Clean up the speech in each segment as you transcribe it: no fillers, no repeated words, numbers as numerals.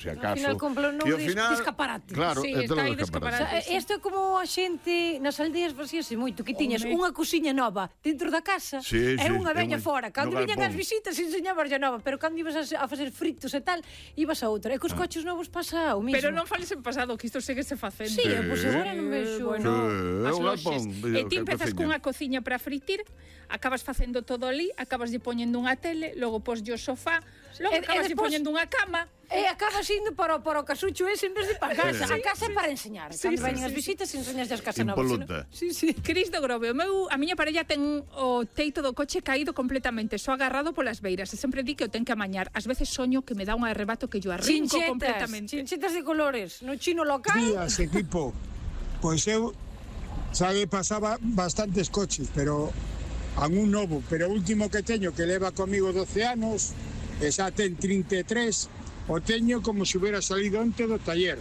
se acaso. Ao final compra un novo escaparate. Claro, Sí, é todo está aí de escaparate. Isto é como a xente nas aldeas facíase moito, que tiñas unha cociña nova dentro da casa e unha veña fora. Cando viñan as visitas enseñabas a nova, pero cando ibas a facer fritos e tal, ibas a outra. E cos coches novos pasa o mismo. Pero non fales en pasado, que isto segue se facendo. Sí, pois agora non vexo. As loxes. E ti empezas cunha cociña para fritir, acabas facendo todo ali, acabas lle poñendo unha tele, logo poslle o sofá, logo acabas lle poñendo unha cama. E acabas indo para o casucho ese en vez de para casa. A casa é para enseñar. Cando veñen as visitas, enseñas as casas novas. Impoluta. Sí. Cris do Grove, a miña parella ten o teito do coche caído completamente, só agarrado polas beiras. E sempre di que o ten que amañar. Ás veces soño que me dá un arrebato que yo arrinco completamente. Chinchetas de colores. No chino local. Días, equipo. Pois eu pasaba bastantes coches, pero algún novo. Pero o último que teño, que leva comigo 12 anos, e xa ten 33, o teño como se hubiera salido onte do taller,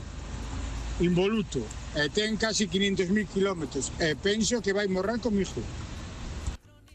involuto, e ten casi 500.000 kilómetros, e penso que vai morrer comigo.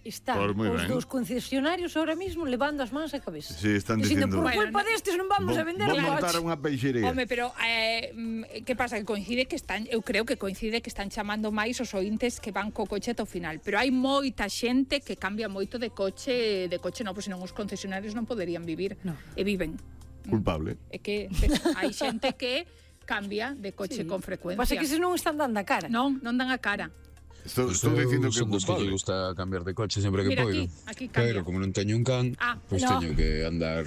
Están os dos concesionarios ahora mismo levando as mans á cabeza. Sí, están dicindo... Por culpa destes non vamos a vender o coche. Vou montar unha peixería. Home, pero que pasa? Que coincide que están, eu creo que coincide que están chamando máis os ointes que van co coche ata o final, pero hai moita xente que cambia moito de coche novo, senón os concesionarios non poderían vivir, e viven. Culpable. É que hai xente que cambia de coche con frecuencia. Pasa que se non están dando a cara. Non dan a cara. Estou dicindo que é que culpable. gusta cambiar de coche sempre que poido. Aquí cambia. Pero como non teño un can, pois teño que andar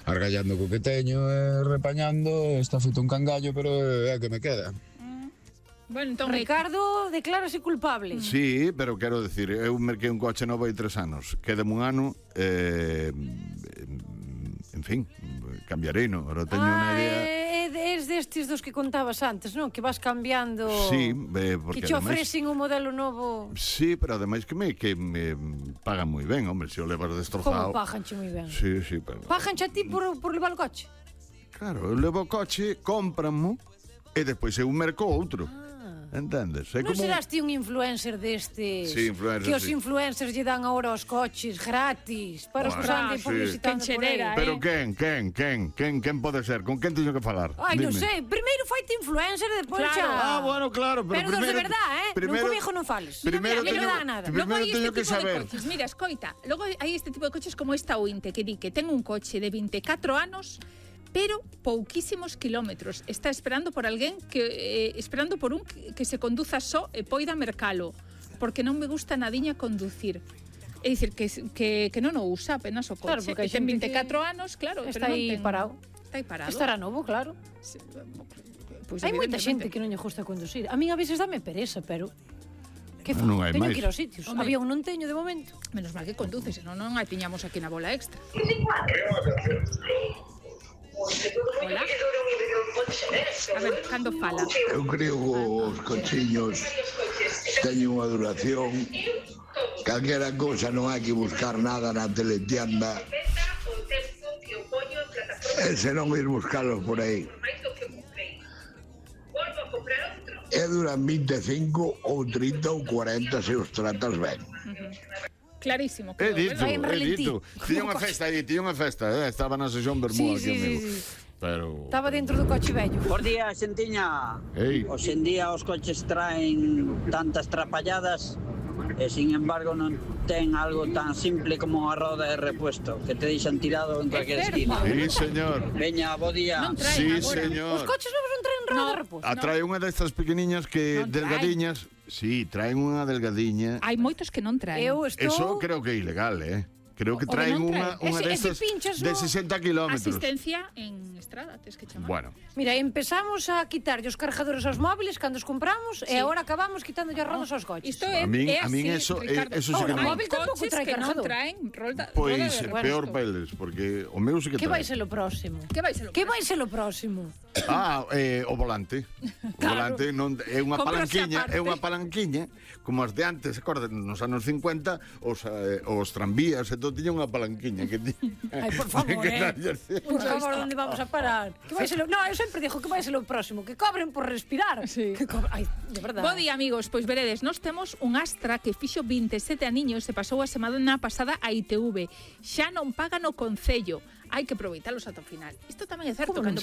argallando co que teño e repañando. Está feito un cangallo, pero é que me queda. Bueno, entón Ricardo declárase culpable. Sí, pero quero decir, eu merquei un coche novo hai 3 anos. Quédame un ano, en fin, cambiarei, non? Ahora teño unha idea... Es destes dos que contabas antes, non? Que vas cambiando... Sí, porque que te ofrecen un modelo novo... Sí, pero ademais que me pagan moi ben, hombre, se o levas destrozado... Como paganche moi ben? Sí, pero... Paganche a ti por levar o coche? Claro, eu levo o coche, cómpranmo, e despois eu merco outro. Entendes? Non serás ti un influencer destes? Sí, influencer, que os influencers lle dan agora os coches gratis para os que anden publicitando por aí. Pero quen pode ser? Con quen teño que falar? Ai, non sei, primeiro faite influencer e despois xa... Bueno, claro, pero dos de verdad, non comigo non fales. Primeiro teño que saber. Mira, escoita, logo hai este tipo de coches como esta Ointe, que di que ten un coche de 24 anos pero pouquísimos kilómetros. Está esperando por alguén esperando por un que se conduza só e poida mercalo, porque non me gusta nadiña conducir. É dicir, que non o usa apenas o coche. Claro, porque ten 24 anos, claro, está aí parado. Está aí parado. Estará novo, claro. Sí, pues hai moita xente que non lle gusta conducir. A min a veces dame pereza, pero que non hai teño máis. que ir aos sitios. Avión non teño de momento. Menos mal que conduces, senón non hai tiñamos aquí na bola extra. Hola. A ver, cando fala? Eu creo que os cochiños teñen unha duración. Calquera cousa non hai que buscar nada na teletienda. E se non ir buscarlos por aí. E duran 25 ou 30 ou 40 se os tratas ben. Clarísimo. He dito. Tiña unha festa, estaba na sesión Bermuda aquí, amigo. Pero... Estaba dentro do coche vello. Por día, xentiña. Hoxe en día os coches traen tantas trapalladas e, sin embargo, non ten algo tan simple como a roda de repuesto, que te deixan tirado en cualquier esquina. Sí, señor. Veña, bo día. Sí, señor. Os coches novos non traen roda de repuesto. Trae unha destas pequeniñas que delgadiñas. Sí, traen unha delgadiña. Hai moitos que non traen. Eso creo que é ilegal, Creo que traen unha destas de 60 kilómetros. Asistencia en estrada, tes que chamar. Bueno. Mira, empezamos a quitarlle os cargadores aos móviles cando os compramos e agora acabamos quitándolle as rodas aos coches. Isto é a min eso sí que non. O móvil tampouco trae cargador. Pois peor peles, porque o meu sí que trae. Que vai ser o próximo? Que vai ser o próximo? O volante. O volante non é unha palanquiña, como as de antes, acordan, nos anos 50, os tranvías e todo tiña unha palanquiña que Ai, por favor, Por favor, onde vamos a parar? Que vai ser eu sempre digo que vai ser o próximo, que cobren por respirar. Ai, de verdade. Bo día, amigos, pois veredes, nós temos un Astra que fixo 27 aniños e pasou a semana pasada a ITV. Xa non paga no concello. Hai que aproveitalos ata o final. Isto tamén é certo, cando